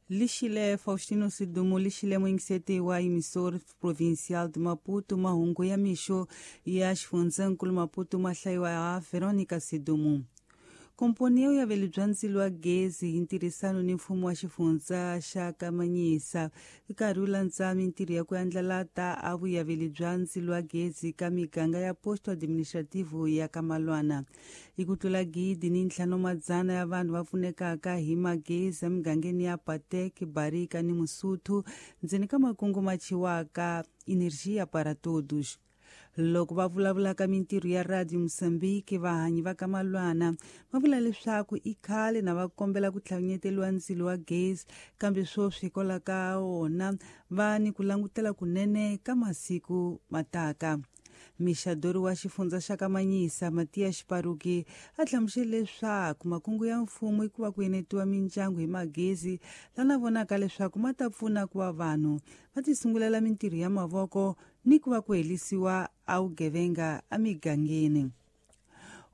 Lixile Faustino Sidumo lixile muingiseti wa emissor provincial de Maputo mahungu ya mixo ya xifundzankulu Maputo ma hlayiwa ha Veronica Sidumo. Komponi ya vuyaveli bya ndzilo wa gezi hi ntirhisano ni mfumo wa xifundza xa Kamanyisa i karhi wu landza mintirho ya ku andlalata a vuyaveli bya ndzilo wa gezi ka miganga ya posto administrativo ya Kamalwana. I ku tlula 1500 ya vanhu va pfunekaka hi magezi emigangeni ya Patek, Barika ni Musuthu ndzeni ka makungu ma chiwaka Energia para Todos. Loko va vulavulaka mintirho ya Radio Mozambique, vahanyi va ka Malwana va vula leswaku i khale na va kombela ku tlhavinyeteliwa ndzilo wa gezi, kambe sweswi hikwalaho ka wona va ni ku langutela kunene ka masiku mataka. Mixadori wa xifundza xa Kamanyisa Matias Paruki a hlamusele leswaku makungu ya mfumo i ku va ku enetiwa mindyangu hi magezi lana vonaka leswaku ma ta pfuna ku va vanhu va tisungulela mintirho ya mavoko ni ku va ku helisiwa a vugevenga emigangeni.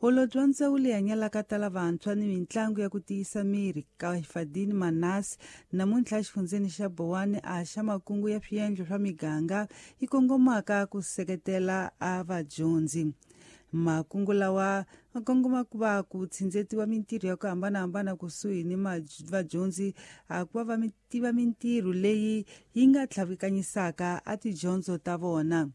Holobye wa ndzawulo leyi hanyalaka tala vantshwa ni mitlangu ya ku tiyisa miri Kaifadini Manasi namuntlha exifundzeni xa Bowani a xa makungu ya swiendlo swa miganga yi kongomaka ku seketela a vadyondzi. Makungu lawa ma kongoma ku va ku tshindzetiwa mintirho ya ku hambanahambana kusuhi ni vadyondzi a ku va va tiva mintirho leyi yi nga tlhavikanyisaka a tidyondzo ta vona.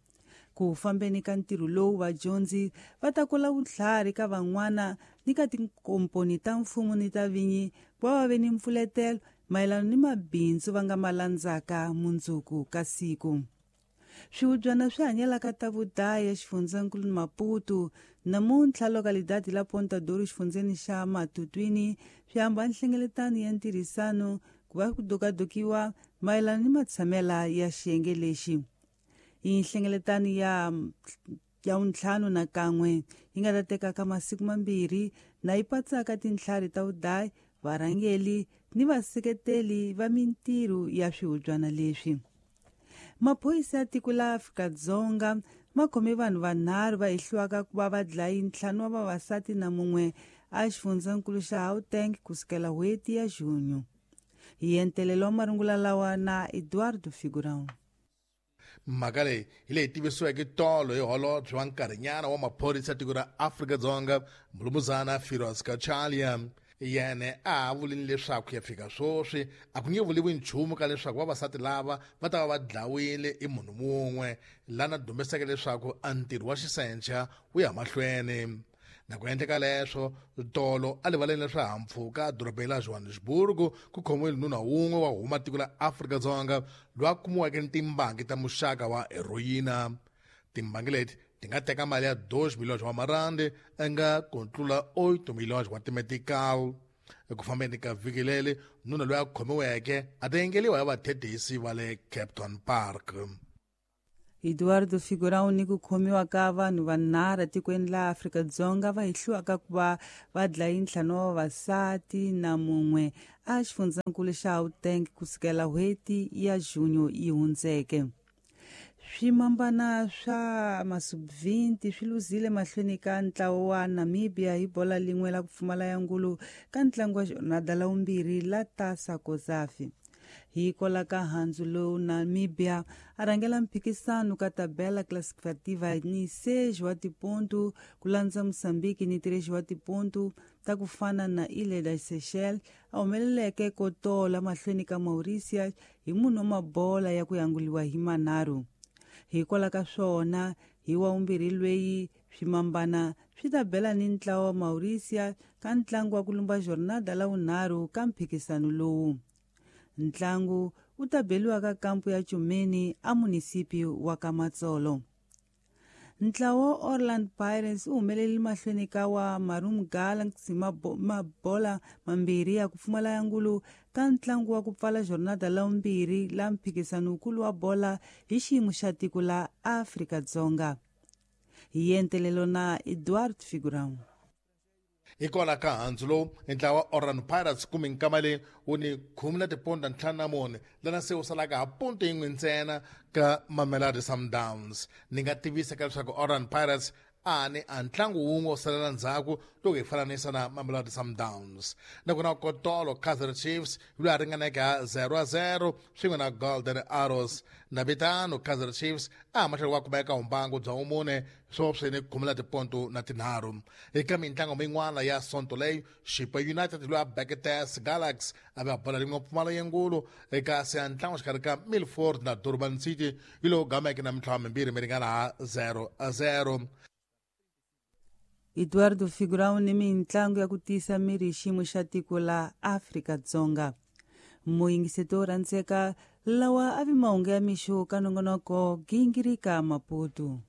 Ku fambeni ka ntirho lowu vadyondzi va ta kula vutlhari ka van'wana ni ka tinkomponi ta mfumo ni ta vinyi ku va va ve ni mpfuletelo mayelana ni mabindzu va nga ma landzaka mundzuku ka siku. Swihubyana swi hanyelaka ta vudayi exifundzankulu Maputo namuntlha lokalidadi la Ponta Doro xifundzeni xa Matutwini swi hamba nhlengeletano ya ntirhisano ku va ku dokadokiwa mayelana ni matshamela ya xiyenge lexi. I nhlengeletano ya 51 yi nga ta tekaka masiku mambirhi na yi patsaka tintlhari ta vudayi, varhangeli ni vaseketeli va mintirho ya swihubyana leswi. Maphorisa ya tiko la Afrika-Dzonga ma khome vanhu vanharhu va hehliwaka ku va va dlayi 5 wa vavasati na mun'we a xifundzankulu xa Gauteng kusukela n'hweti ya Junho. Hi entelelo wa marungula lawa na Eduardo Figurão. Mhaka leyi hi leyi tivisiweke tolo hi holobye wa nkarhinyana wa maphorisa ya tiko ra Afrika-Dzonga Mulumuzana Firoz Cachalia. Yena a ha vulini leswaku ya fika sweswi a ku nge vuliwi nchumu ka leswaku vavasati lava va ta va va dlawile i munhu mun'we lana dumeseke leswaku a ntirho wa xisencha wu ya mahlweni. Na ku endleka leswo tolo a rivaleni la swihahampfhuka edorobeni la Johannesburg ku khomiwile nuna wun'we wa huma tiko la Afrika-Dzonga loyi a kumiweke ni timbangi ta muxaka wa heroyina. Timbangi leti ti nga teka mali ya 2 milhões wa marandi nga ku tlula 8 milhões wa timetical. Eku fambeni ka vhiki leri nuna loyi a khomiweke a ta yengeliwa hi vathethisi va le Kempton Park. Eduardo Figurão ni ku khomiwa ka vanhu vanharhu etikweni la Afrika-Dzonga va hehliwaka ku va va dlayi 5 wa vavasati na mun'we a xifundzankulu xa Gauteng kusukela n'hweti ya Junho yi hundzeke. Swimambana swa masub-20 swi luzile mahlweni ka ntlawa wa Namibia hi bola lin'we la ku pfumala ya ngulu ka ntlangu wa jornada la vumbirhi la Tasa Kozafi. Hi kola ka handzu lowu Namibia a rhangela mphikisano ka tabela classificativa ni 6 wa tipontu ku landza Mozambique ni 3 wa tipontu ta ku fana na Ilha das Seychelles a humeleleke ko tola mahlweni ka Mauritius hi munhu wa mabola ya ku yanguliwa hi manharhu. Hikwalaho ka swona hi wa vumbirhi lweyi swimambana swi ta bela ni ntlawa wa Mauritius ka ntlangu wa ku lumba jornada la vunharhu ka mphikisano lowu. Ntlangu wu ta beliwa ka kampu ya Chumeni a munisipi wa Kamatsolo. Ntlawa wa Orlando Pirates wu humelele mahlweni ka wa Marum Galaxy mabola mambirhi ya ku pfumala ya ngulu ka ntlangu wa ku pfala jornada la vumbirhi la mphikisano wukulu wa bola hi xiyimo xa tiko la Afrika-Dzonga. Hi entelelo na Eduardo Figurão. Hikwalaho ka handzu lowu ntlawa wa Orlando Pirates kumbe nkama leyi wu ni khume na tiponta ntlhanu na mune lana se wu salaka ha ponto yin'we ntsena ka Mamelodi Sundowns. Ni nga tivisa ka leswaku Orlando Pirates A ni a ntlangu wun'we wo salela ndzhaku loko hi fananisa na Mamelodi Sundowns. Nakona kotolo Kaizer Chiefs yi loyi a ringaneke ha 0-0 swin'we na Golden Arrows. Navitano Kaizer Chiefs a mahlweni wa kumeka humbangu bya vumune swo swini khumula tiponto na tinharhu. Eka mintlango min'wana ya sonto leyi, Chippa United loyi a beke TS Galaxy a va bola rin'we pfumala yengulu, kasi a ntlango xikarhi ka Milford na Durban City yi lowu gameke na mintlhanu mimbirhi mi ringana ha 0-0. Eduardo Figurão ni mintlangu ya ku tiyisa miri hi xiyimo xa tiko la Afrika-Dzonga. Muyingiseti wo rhandzeka, lawa a vi mahungu ya mixo ka nongonoko Gingirika Maputo.